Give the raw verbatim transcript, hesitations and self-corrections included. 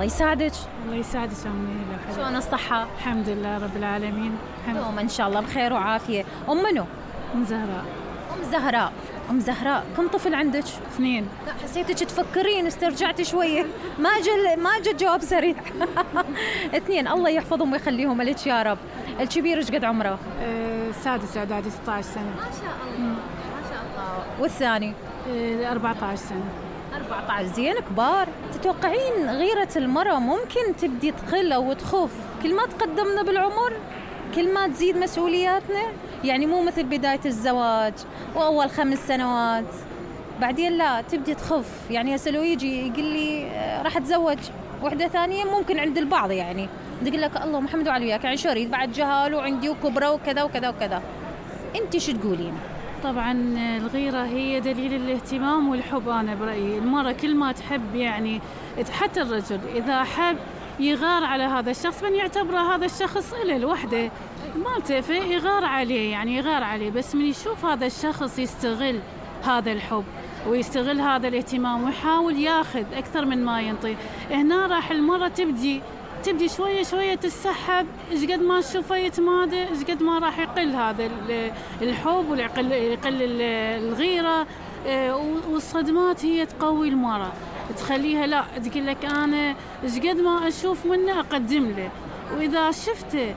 الله يساعدك. الله يساعدك أمي. شلون الصحة؟ الحمد لله رب العالمين. دوما إن شاء الله بخير وعافية. أم منو؟ أم زهراء. أم زهراء. أم زهراء كم طفل عندك؟ اثنين. لا حسيتك تفكرين استرجعتي شوية ما جل ما جت جواب سريع. اثنين الله يحفظهم ويخليهم لك يا رب. الكبير ايش قد عمره؟ أه سادس إعدادي ستة عشر سنة. ما شاء الله ما شاء الله. والثاني؟ أه أربعة عشر سنة. أربعة عشر زين كبار. تتوقعين غيرة المرأة ممكن تبدي تقل أو تخف كل ما تقدمنا بالعمر؟ كل ما تزيد مسؤولياتنا؟ يعني مو مثل بداية الزواج وأول خمس سنوات بعدين لا تبدي تخف. يعني هسه لو يجي يقول لي راح أتزوج وحدة ثانية ممكن عند البعض يعني يقول لك الله محمد وعلي وياك يعني شريط بعد جهال وعندي وكبرى وكذا وكذا وكذا. أنت شو تقولين؟ طبعا الغيرة هي دليل الاهتمام والحب. أنا برأيي المرأة كل ما تحب يعني حتى الرجل إذا حب يغار على هذا الشخص من يعتبره هذا الشخص إله الوحدة مالته فيغار عليه يعني يغار عليه. بس من يشوف هذا الشخص يستغل هذا الحب ويستغل هذا الاهتمام ويحاول ياخذ أكثر من ما ينطي هنا راح المرة تبدي تبدي شوية شوية تسحب. إيش قد ما تشوفه يتمادى إيش قد ما راح يقل هذا الحب ويقل يقل الغيرة. والصدمات هي تقوي المرأة تخليها لا تقول لك أنا إيش قد ما أشوف منه أقدم له. وإذا شفته